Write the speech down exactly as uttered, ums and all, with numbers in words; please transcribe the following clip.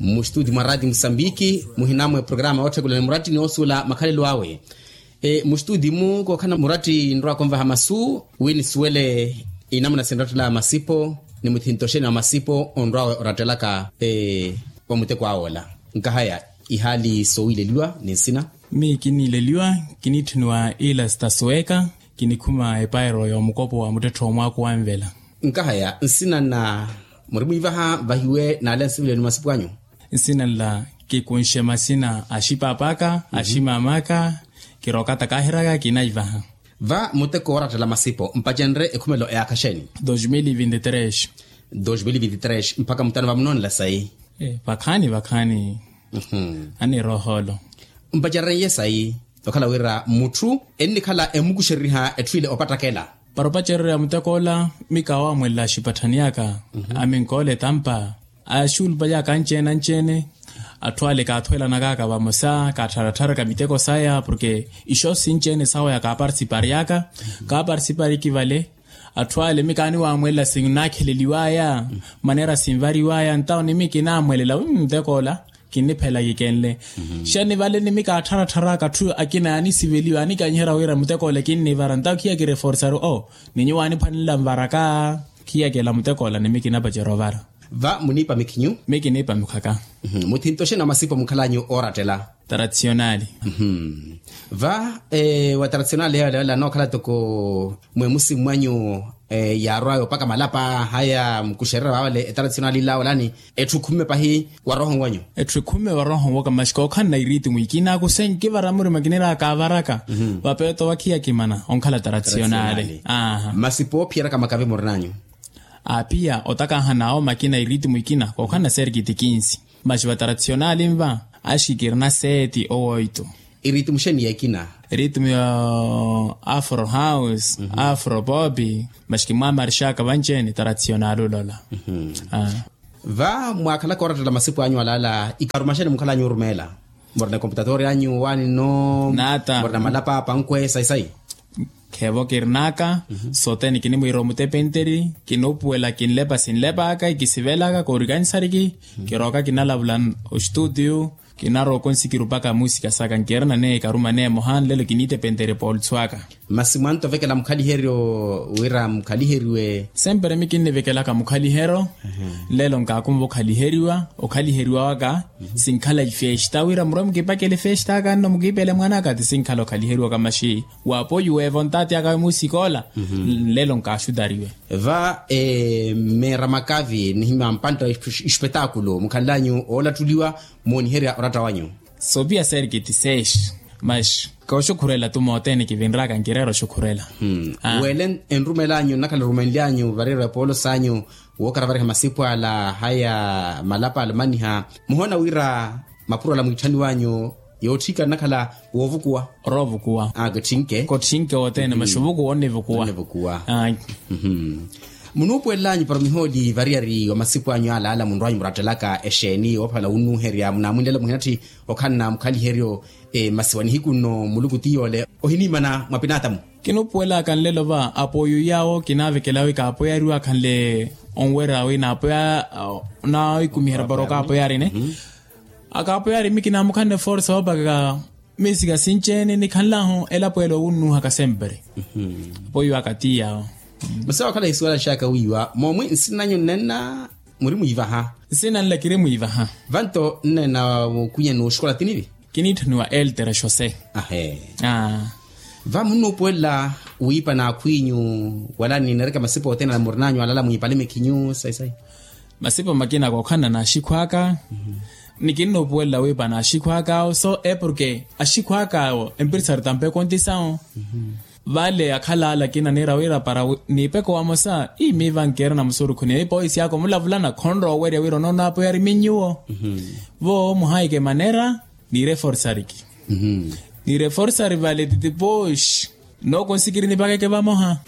Mustudi mwa rati musambiki muhinamwe programa otthekulani muratti ni osuula makhalelo awe. Mustudi mu kookhana muratti nrwa konvaha masu wi nisuwele inamuna sinrattela masipo ni muthinto xeni wa masipo onrwawe orattelaka wa muteko awe ola. Nkahaya ihaali sowiileliwa ni nsina. Mi kiniileliwa, kiniitthuniwa ila sitasuweka, kinikhuma epairo ya omukopo wa muttettho wa mwaako wa nvela. Nkahaya nsina nna muri mwiivaha vahiwe naale nsivilelo ni masipu anyu. Nsina nla kikunxe masina a xipaap'aka a ximaam'aka. Kirookata kaahiryaka kinaivaha. Va muteko woorattela masipo mpacenrye ekhumelo eyaakha xeeni? Dos mil vinti tres. Dos mil vinti tres mpakha mutano vamunoonela sayi. Vakhaani vakhaani. Anniira ohoolo. Mpacererye sayi okhala wira mutthu ennikhala emukuxereriha etthu ile opattakela. Para opacererya muteko ola mi kaawamwelela axipatthani aka aminkoola etampa axuulupali aka anci-ene anci-ene. Atthu ale kaathuwelanaka aka vamosa kaattharattharaka miteko saya porke ixo sinci-ene sawa ya kaapartisiparyaka kaapartisipariki vale. Atthu ale mi kaaniwamwelela sinnaakheleliwaya manera sinvariwaya ntawo ni mi kinaamwelela wi muteko ola kinniphela kikenle. Xani vale ni mi kaattharatthara aka atthu akina yaanisiveliwa yaanikanyiherya wira muteko ola kinnivara ntawo khiya kireforsaru o ni nyuwo aaniphwanela nvaraka. Khiyakela muteko ola ni mi kinapacerya ovara. Va muniipa mikhinyu? Mi kiniipa mikhaka. Muthinto xeeni wa masipo mukhalanyu oorattela? Taratisiyonali. Va wa taratisiyonali yoola yoola anookhala toko mwemusi mwanyu yaarwaya opaka malapa haya mukuxererya vaawale etaratisiyonali ila olani etthu khumme pahi wa rooho wanyu? Etthu khumme wa rooho waka maxi kookhanna iritimu ikina kusenki vara murima kinira kaavaraka. Vapeeto vakhiya kimana onkhala taratisiyonali. Masipo oophiyeryaka makavi murinanyu? Apiya otakahana awo makina iritimu ikina kookhanna serkiti kinsi. Maxi va taratisiyonali nva axikirina seeti owoito. Iritimu xeeni ya ikina? Iritimu ya afro house, afro popi. Maxi kimwamarixaka vanci-ene taratisiyonali olola. Va mwaakhalaka orattela masipu anyu alaala ikaruma xeeni mukhalanyu orumeela? Murina ekomputatori anyu waani nno? Nata. Murina malapa pankwe sayi sayi. Kheevo kirinaka sothene kinimwiira omutepenteri kinuupuwela kinlepa sinlepaka ikisivelaka koorikanisariki. Kirooka kinalavula oxituutiyu. Kinarooko nsikirupaka muusika saka nkirina neekaruma neemoha nlelo kiniitepenteri poolutsu aka. Masi mwanto ovekela mukhaliheryo wira mukhaliheriwe? Sempre mi kinnivekelaka mukhaliheryo. Nlelo nkaakumva okhaliheriwa okhaliheriwa waka sinkhala ifesta wira murwe mukipakele ifesta aka nno mukiipele mwanaka ti sinkhala okhaliheriwa kamaxi. Waapoyuwe evo ntaati aka musikoola. Nlelo nkaaxutariwe. Va meera makavi nihimya mpantta espetaakulu mukhanlanyu oolattuliwa mooniherya oratta wanyu? Sopiya serkiti seex. Maxi kooxukhurela tu mothene kivinraka nkireera oxukhurela. Wele enrumelanyu nnakhala erumenlyanyu vareera epoolo sanyu wookaravariha masipu ala haya malapa alamaniha muhoona wira mapuro ala mwiitthaniwanyu yootthika nnakhala woovukuwa? Oroovukuwa. Kotthinke. Kotthinke wothene maxi ovukuwa onnivukuwa. Munuupuwelelanyu para mihooli variyari wa masipu anyu alaala munrwanyu murattelaka exeeni woophala wunnuuherya munaamwinlelo muhinatthi okhanna mukhaliheryo. Masi wa nihiku nno muluku ti yoole ohiniimana mwa pinaatamu. Kinuupuwelaka nlelo va apoiyu yaawo kinaavekela wi kaapoyari wi akhanle onwerya wi naapoya naawikumiherya para okaapoyari ne akaapoyari mi kinaamukhanne forsa woopaka. Miisika sinci-ene nikhanlahu elapo ele owunnuuhaka sempre. Apoiyu aka ti yaawo. Masi waakhala isuwela xaka wiiwa moomwi nsina nanyu nnenna muri mwiivaha? Nsina nla kiri mwiivaha. Vanto nnenna mukhwinya nooxukola tinivi? Kiniitthaniwa eltere xose. Ahe. Va munnuupuwelela wiipa n'akhw'inyu wala nineereke masipa othene ala murin'anyu alaala mwiipale mikhinyu sayi sayi. Masipa makina kookhanna n'axikhw'aka. Ni kinnuupuwelela wiipa n'axikhw'aka awo so e porke axikhw'aka awo empirisari tampe kontisawo. Vale akhala ala akina niira wira para niipeko wamosa ii miiva nkeerina musurukhu ni nipoisi aka omulavulana khonrowa owerya wira onoona apoyari minyuwo. Vo muhaike manera niireforsariki. Niireforsari vale titipoxi. Noko nsikiri nipakeke vamoha.